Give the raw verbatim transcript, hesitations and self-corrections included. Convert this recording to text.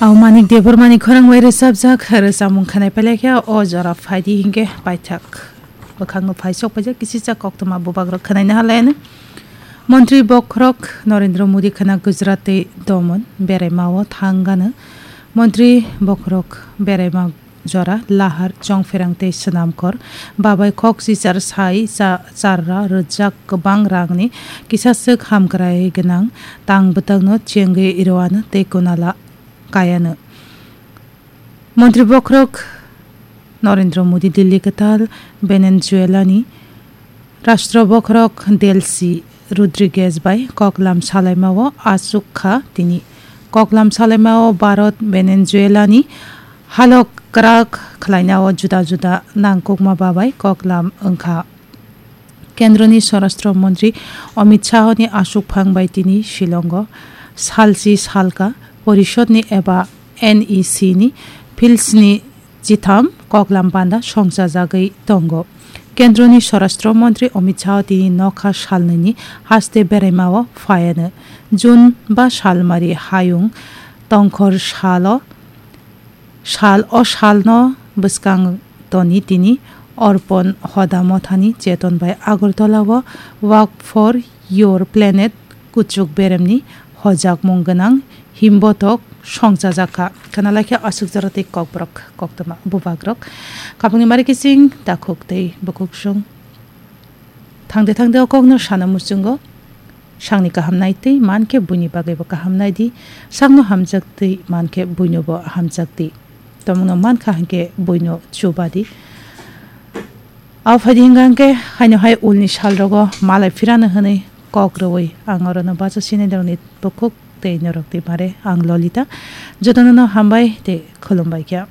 Au Manik Debbarmani khorang bai rwchapjak rwchapmung khwnai pailai khe o jora phaidi hinkhe paithak bwkhakno phaisok paijak kisisa koktwma bubagrok khwnaina halaino. Montri bokhorok Narendra Modi khwna Gujarat tei Daman beraimao thangano. Montri bokhorok beraima jora lahar chongpherang tei swnamkhor babai kok chichar sai cha-, charra rwjak kwbang rangni kisaswk hamkrai gwnang tang bwtangno chengwi rwano tei kunala kayano. Montri bokhorok Narendra Modi Delhi kwtal Venezuelani Rashtra bokhorok Delcy Rodriguez bai koklam salaimao achuk kha tini. Koklam salaimao Bharat Venezuelani halok kwrak khlainao juda juda nangkukma babai koklam wngkha. Kendroni Swarashtra Montri Amit Shahni aswkphang bai tini Shillongo salchi salka porishodni eba N E C ni philsni chitham koklam panda songchajagwi tongo. Kendroni Swarashtra Montri Amit Shah tini nokha salnwini haste beraimao phaiano. June ba salmari hayung tongkhor salo Sal o salno bwskang toni tini Orpon Hoda Mothani cheton bai Agartala o Walk for Your Planet kuchuk beremni hojakmung gwnang himbotok songchajak kha. Khwnalaikhe aswk jora tei kokborok koktwma bubagrok. Khapangni mari kising takhuk tei bukhuk sung. Thangde thangde o kokno sana muchungo. Sakni kaham nai twi mankhe buini bagwibo kaham nai di. Sakno hamjak twi mankhe buinobo hamjak di. Tomungno mankha hinkhe buino chuba di. Abo phaidi hinkha hinkhe haino hai ulni salrogo malai phirano hwnwi kok rwui ang orono bacha sinai norokni bukhuk tei norok twi mare ang Lolita. Jotono no hambai tei khulumbai kha.